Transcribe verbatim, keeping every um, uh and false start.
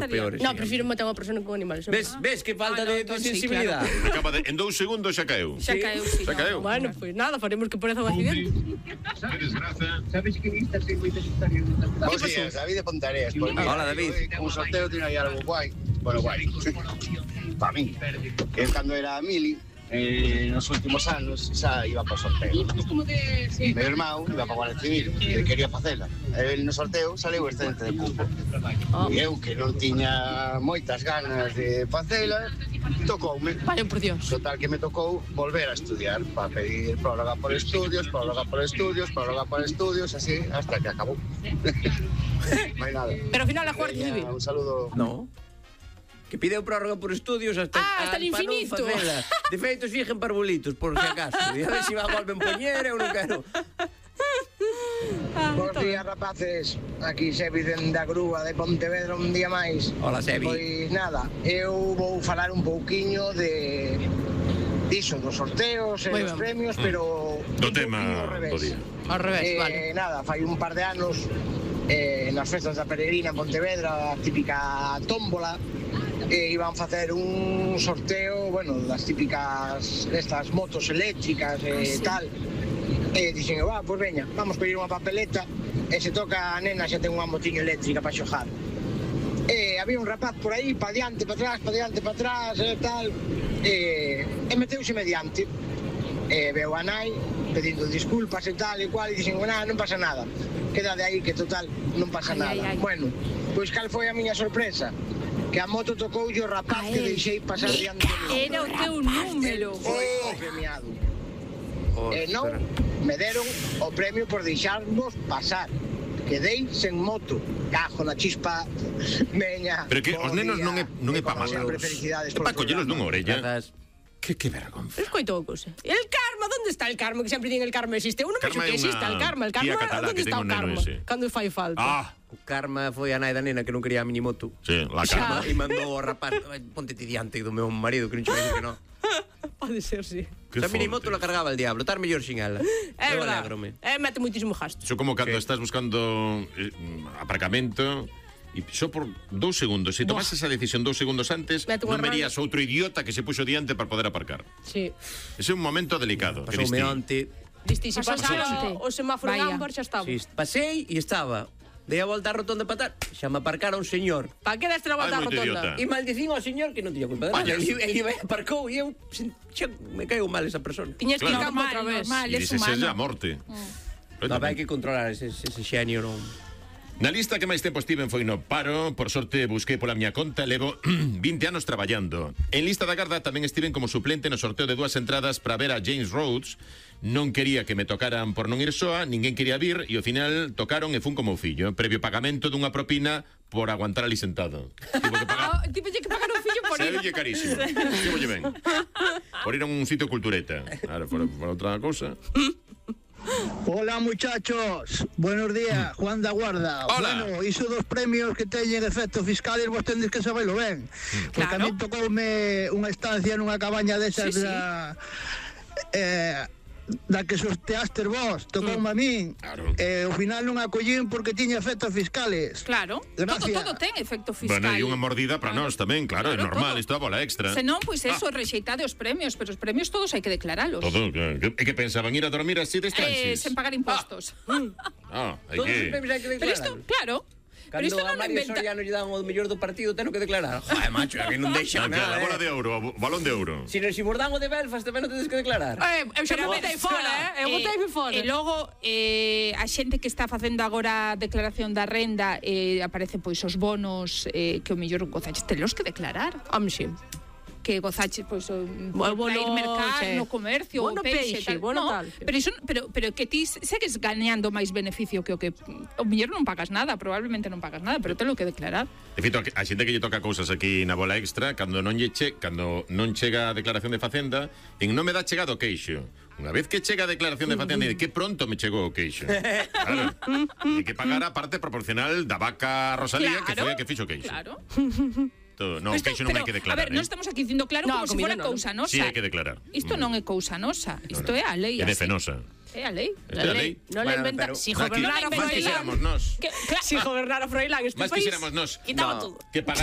peores. No, prefiro matar unha persona con animales. Ves, ves que falta de sensibilidade. Acaba de, en dous segundos xa caeu. Xa caeu, sí. Xa caeu. Bueno, pois nada, faremos que pareza un accidente. Que desgraza. Sabes que vistas en moitas historias. Bos días, David de Pontareas. Pues mira, Hola, David. Un sorteo tiene aí algo guai. Bueno, guai. Para mí. Que cando era mili, eh, nos últimos anos xa iba para o sorteo. Meu irmão iba para a Guardia Civil, que quería facela. El no sorteo saleu excedente de cupo. E eu, que non tiña moitas ganas de facela, tocoume. Vale, por Dios. Total que me tocou volver a estudiar para pedir prórroga por estudios, prórroga por estudios, prórroga por estudios, así hasta que acabou. Non hai nada. Pero ao final a Guardia Civil. Un saludo. No. Que pideu prórroga por estudios hasta, Ah, hasta el infinito. De feito, fixen parvulitos, por si acaso. E a ver se si va a volver poñer, eu non quero. Bos días, rapaces. Aquí Sebi da grúa de Pontevedra un día máis. Hola, Sebi. Pois nada, eu vou falar un pouquiño de diso, dos sorteos e Moi dos ben. premios, pero Do un tema pouquiño ao revés. do día. Ao revés, Eh, vale. Nada, fai un par de anos eh, nas festas da Peregrina en Pontevedra, a típica tómbola, e iban facer un sorteo, bueno, das típicas destas motos eléctricas e tal. E dixen, va, pois veña, vamos pedir unha papeleta e se toca a nena xa ten unha motiña eléctrica para xojar. E había un rapaz por aí, pa diante, pa atrás, pa diante, pa atrás e tal, e, e meteuse mediante. E veo a nai pedindo disculpas e tal e cual, e dixen, nada, non pasa nada, queda de aí que total non pasa Ai, nada. ai, ai. Bueno, pois cal foi a miña sorpresa? Que a moto tocou o rapaz A que él. deixei pasar diante de mí. Era o teu número. Foi o premiado. Oh, E non espera. me deron o premio por deixarnos pasar. Quedei sen moto. Cajo na chispa. Meña. Pero que bo os nenos día, non é non é e pa como sempre, malos. felicidades É polo pa collelos programa. dunha orella. Grazas. Que que vergonza. Escoito a cousa. El karma, onde está el karma? Que sempre din el karma existe. Eu non vexo Karma que é exista unha el karma. El tía karma, catalá onde que está ten o un neno karma? ese. Cando fai falta. Ah, O karma foi a nai da nena que non quería a minimoto. sí, la calma. E mandou ao rapaz, "Ai, ponte ti diante do meu marido, que non che vai que non. Pode ser, sí. Que A minimoto forte. la cargaba el diablo, estar mellor sin ela. É Eu verdade. alégrome. É, mete moitísimo gasto. Iso como cando Sí. estás buscando eh, aparcamento e só por dous segundos, se tomas esa decisión dous segundos antes, Mete unha non verías outro idiota que se puxo diante para poder aparcar. Sí. Ese é un momento delicado. que Pasoume diste. onte. Diste, se Pasaste pasara onte. o semáforo en Vaya. ámbar xa estaba. Si, pasei e estaba. Dei a volta á rotonda para tal, xa me aparcara un señor. Pa que deste a volta Ai, á moito rotonda? idiota. E maldicín ao señor que non tiña culpa de nada. Vaya. Ele ele aparcou e eu sen- xa me caigo mal esa persona. Tiñes que ir Claro. campo outra Normal, vez. normal. E Es dices, humano. é a morte. No, hai que controlar ese, ese xenio, non. Na lista que máis tempo estiven foi no paro. Por sorte busquei pola miña conta. Levo vinte anos traballando. En lista da garda tamén estiven como suplente no sorteo de dúas entradas para ver a James Rhodes. Non quería que me tocaran por non ir soa, ninguén quería vir e ao final tocaron e fun como o fillo. Previo pagamento dunha propina por aguantar ali sentado. Tivo que pagar. Ah, tipo, lle que pagar un fillo por ir. Sabe carísimo. Tivo ben. Por ir a un sitio cultureta. Ahora, por, por outra cousa. Hola muchachos, buenos días, Juan da Guarda. Hola. Bueno, iso dos premios que teñen efectos fiscales vos tendes que sabelo ben. Porque a Claro. mí tocoume unha estancia nunha cabaña desas Sí, sí. da eh, da que sorteaste vos, tocoume a min. Claro. E ao final non acollín porque tiña efectos fiscales. Claro, todo, Gracias. todo ten efecto fiscal. Bueno, e unha mordida para nós tamén, claro, é Claro, normal, todo. isto é a bola extra. Se non, pois eso, rexeitade os premios, pero os premios todos hai que declaralos. Todo, que, que, que pensaban ir a dormir así de Eh, transis. sen pagar impostos. Ah, hai Todos os que... premios hai que Pero isto, declarar. claro. Pero Cando isto a non o Mario inventa. Soriano lle dan o mellor do partido, teno que declarar. Joder, macho, a que non deixan Ah, que a nada, bola de eh. ouro, o balón de ouro. Si, si vos dan o de Belfast, tamén non tedes que declarar. Eh, eu xa Pero me botei fora, eh? Eu botei fora. E logo, eh, a xente que está facendo agora a declaración da renda, eh, aparecen pois os bonos eh, que o mellor gozaches, telos que declarar. Home, sí. Que gozaches pois o O bono, ir mercar sí. no comercio, Bono o peixe, peixe, tal. bono no, tal, sí. pero iso, pero pero que ti segues gañando máis beneficio que o que o mellor non pagas nada, probablemente non pagas nada, pero telo que declarar. De feito, a xente que lle toca cousas aquí na bola extra, cando non lle che, cando non chega a declaración de Facenda, en non me dá chegado o queixo. Unha vez que chega a declaración de Facenda, de que pronto me chegou o queixo. Claro. Hai que pagar a parte proporcional da vaca Rosalía, que foi a que fixo o queixo. Claro. Todo, non, o Isto- queixo non hai que pero, declarar. A ver, non eh? estamos aquí dicindo claro No, como se comida fora non. cousa nosa. Sí, hai que declarar. Isto Mm. non é cousa nosa, isto No, no. é a lei. É de así. fenosa. É a lei. Esta é a lei. Non le Bueno, inventa... pero- Si Aquí, gobernara máis Froilán... quixéramos nós. Que, claro, Si gobernara Froilán este Máis país... quixéramos nós. Quitaba No. todo. Que pagar